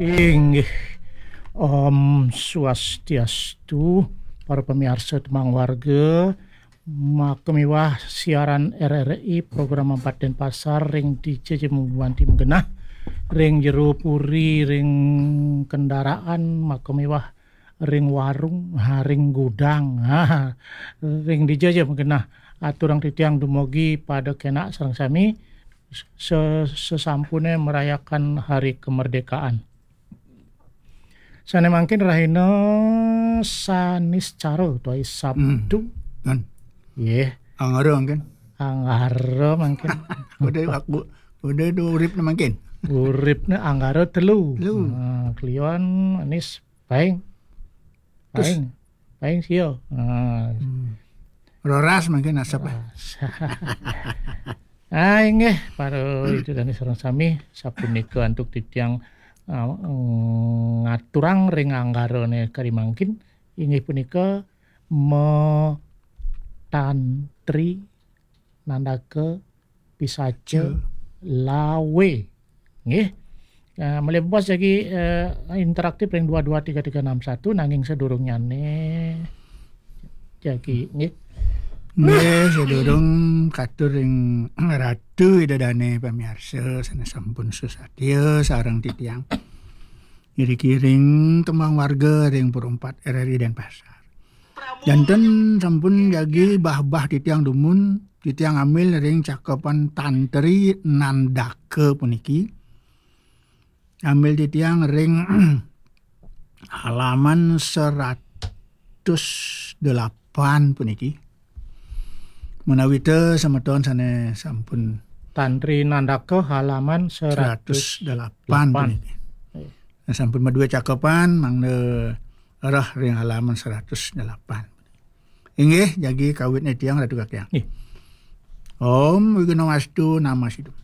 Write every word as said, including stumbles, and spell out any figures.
Inggih. Om Swastiastu, para pamiarsa Tembang Warga, maka miwah siaran R R I program empat Denpasar ring dija ja magumanti magenah, ring jero puri, ring kendaraan, maka miwah ring warung, ha, ring gudang, ha, ring dija ja magenah. Aturang titiang dumugi pada kenak sareng sami se-, sesampune merayakan hari kemerdekaan. Sane mangkin rahina Saniscara utawi Sabtu. Hmm. Kan. Nggih. Anggara mangkin. Anggara mangkin. Udah aku, udah itu uripne mangkin. Uripne Anggara telu. Telu. Nah, Kliwon, Anis, Paing. Terus? Paing. Paing sia. Nah. Hmm. Roras mangkin asap, ah. Ah, inggih, para itu dane sareng sami, sapunika antuk titiang, ah, ngaturang ring anggarane kari mangkin, inggih punika me tantri nandaka pisaca lawe. Nggih. Eh, malih bos jagi, eh, interaktif ring dua dua tiga tiga enam satu, nanging sadurungnyane jagi, nggih. Nggih, sadurung katur ring Ratu Ida Dane pamiarsa sane sampun susatia sareng titiang. Iriki ring Tembang Warga ring Pura Empat R R I Denpasar. Janten sampun jagi bah-bah titiang dumun, titiang ambil ring cakepan Tantri Nandaka puniki. Ambil titiang ring halaman seratus delapan puniki. Menawita semeton sane sampun Tantri Nandaka halaman seratus delapan puniki. Nah, sampun madue cakepan, mangda rah ring halaman seratus delapan. Inggih, jagi kawitne tiang, Ratu Kakyang. Nggih. Om Wighnam Astu Namo Sidham.